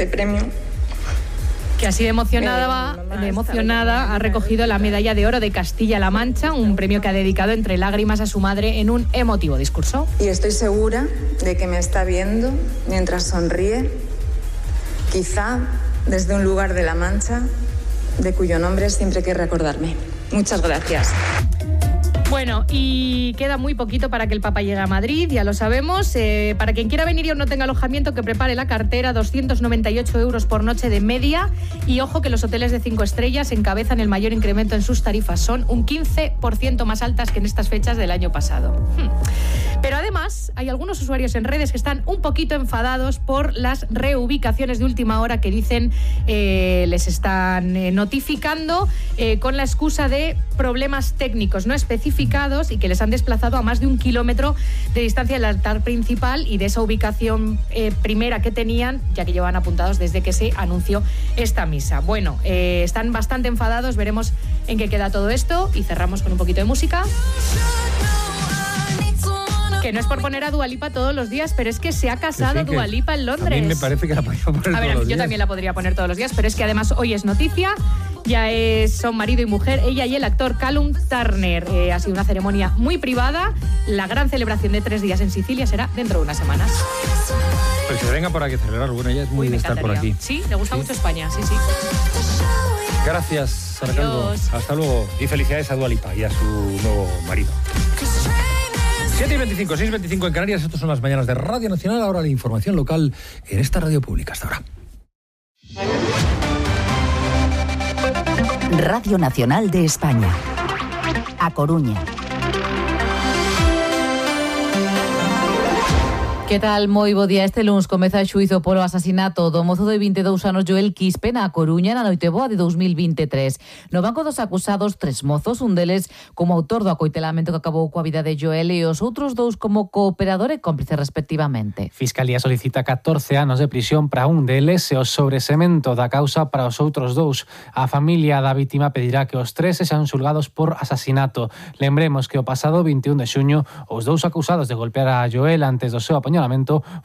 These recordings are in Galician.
este premio. Que así de emocionada ha recogido la medalla de oro de Castilla-La Mancha, un premio que ha dedicado entre lágrimas a su madre en un emotivo discurso. Y estoy segura de que me está viendo mientras sonríe, quizá desde un lugar de La Mancha, de cuyo nombre siempre quiere recordarme. Muchas gracias. Bueno, y queda muy poquito para que el Papa llegue a Madrid, ya lo sabemos. Para quien quiera venir y aún no tenga alojamiento, que prepare la cartera, 298 euros por noche de media. Y ojo que los hoteles de 5 estrellas encabezan el mayor incremento en sus tarifas. Son un 15% más altas que en estas fechas del año pasado. Pero además, hay algunos usuarios en redes que están un poquito enfadados por las reubicaciones de última hora que dicen les están notificando con la excusa de problemas técnicos no especificados y que les han desplazado a más de 1 kilómetro de distancia del altar principal y de esa ubicación primera que tenían, ya que llevan apuntados desde que se anunció esta misa. Bueno, están bastante enfadados, veremos en qué queda todo esto y cerramos con un poquito de música. Que no es por poner a Dua Lipa todos los días, pero es que se ha casado Dua Lipa en Londres. A mí me parece que la podría poner todos los días. Yo también la podría poner todos los días, pero es que además hoy es noticia. Ya son marido y mujer, ella y el actor Callum Turner. Ha sido una ceremonia muy privada. La gran celebración de 3 días en Sicilia será dentro de unas semanas. Pues que se venga por aquí a celebrar. Bueno, ella es muy de estar por aquí. Sí, le gusta mucho España, sí. Gracias, Sara Calvo. Hasta luego. Y felicidades a Dua Lipa y a su nuevo marido. 7:25, 6:25 en Canarias. Estas son las mañanas de Radio Nacional. Ahora la información local en esta radio pública. Hasta ahora. Radio Nacional de España. A Coruña. Que tal? Moi bo día. Este luns comeza o xuízo polo asasinato do mozo de 22 anos Joel Quispe na Coruña na noite boa de 2023. No banco dos acusados, 3 mozos, un deles como autor do acoitelamento que acabou coa vida de Joel e os outros 2 como cooperador e cómplice respectivamente. Fiscalía solicita 14 anos de prisión para un deles e o sobresemento da causa para os outros 2. A familia da vítima pedirá que os 3 sexan xulgados por asasinato. Lembremos que o pasado 21 de xuño os 2 acusados de golpear a Joel antes do seu apoñamento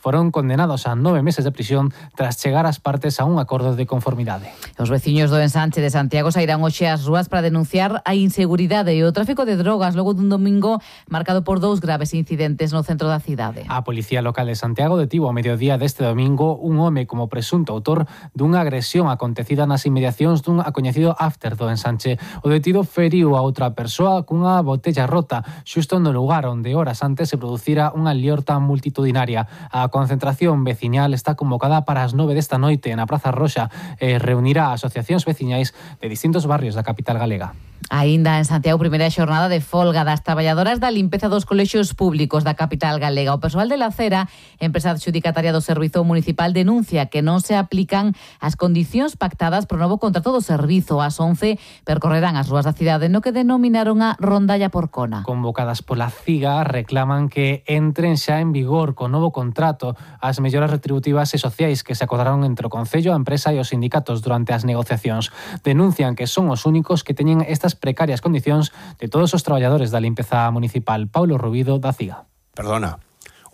foron condenados a 9 meses de prisión tras chegar as partes a un acordo de conformidade. Os veciños do ensanche de Santiago sairán hoxe ás rúas para denunciar a inseguridade e o tráfico de drogas logo dun domingo marcado por 2 graves incidentes no centro da cidade. A Policía Local de Santiago detivo ao mediodía deste domingo un home como presunto autor dunha agresión acontecida nas inmediacións dun acoñecido after do ensanche. O detido feriu a outra persoa cunha botella rota xusto no lugar onde horas antes se producira unha liorta multitudinaria. A concentración veciñal está convocada para as 9 desta noite na Praza Roxa e reunirá asociacións veciñais de distintos barrios da capital galega. Aínda en Santiago, primeira xornada de folga das traballadoras da limpeza dos colexios públicos da capital galega. O persoal de la Cera, empresa adxudicataria do Servizo Municipal, denuncia que non se aplican as condicións pactadas pro novo contrato do servizo. Ás 11 percorrerán as rúas da cidade no que denominaron a rondalla porcona. Convocadas pola CIGA, reclaman que entren xa en vigor co novo contrato as melloras retributivas e sociais que se acordaron entre o Concello, a empresa e os sindicatos durante as negociacións. Denuncian que son os únicos que teñen estas precarias condicións de todos os traballadores da limpeza municipal. Paulo Rubido, da CIGA. Perdona,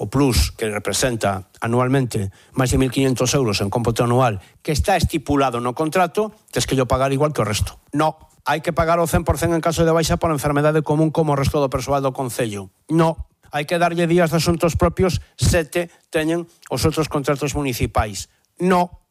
o plus que representa anualmente máis de 1.500 euros en cómputo anual que está estipulado no contrato, tes que yo pagar igual que o resto. No, hai que pagar o 100% en caso de baixa por enfermedade común como o resto do persoal do Concello. No, hai que darlle días de asuntos propios 7 teñen os outros contratos municipais. No.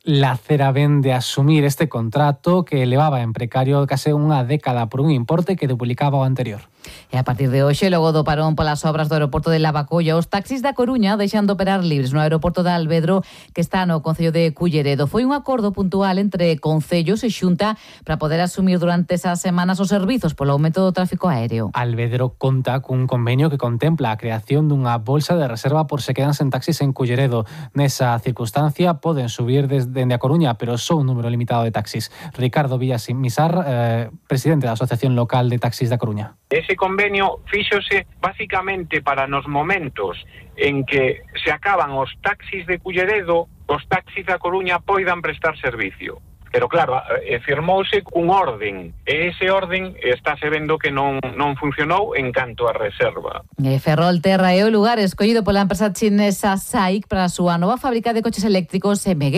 La Cera ven de asumir este contrato que levaba en precario case unha década por un importe que duplicaba o anterior. E a partir de hoxe, logo do parón polas obras do aeroporto de Lavacolla, os taxis da Coruña deixan de operar libres no aeroporto de Alvedro, que está no concello de Culleredo. Foi un acordo puntual entre concellos e Xunta para poder asumir durante esas semanas os servizos polo aumento do tráfico aéreo. Alvedro conta cun convenio que contempla a creación dunha bolsa de reserva por se quedan sen taxis en Culleredo. Nesa circunstancia poden subir dende a Coruña, pero só un número limitado de taxis. Ricardo Villasmisar, presidente da Asociación Local de Taxis da Coruña. Ese convenio fíxose basicamente para nos momentos en que se acaban os taxis de Culleredo, os taxis da Coruña poidan prestar servicio. Pero claro, firmouse un orden, e ese orden estáse vendo que non funcionou en canto a reserva. Ferrolterra é o lugar escollido pola empresa chinesa SAIC para a súa nova fábrica de coches eléctricos MG.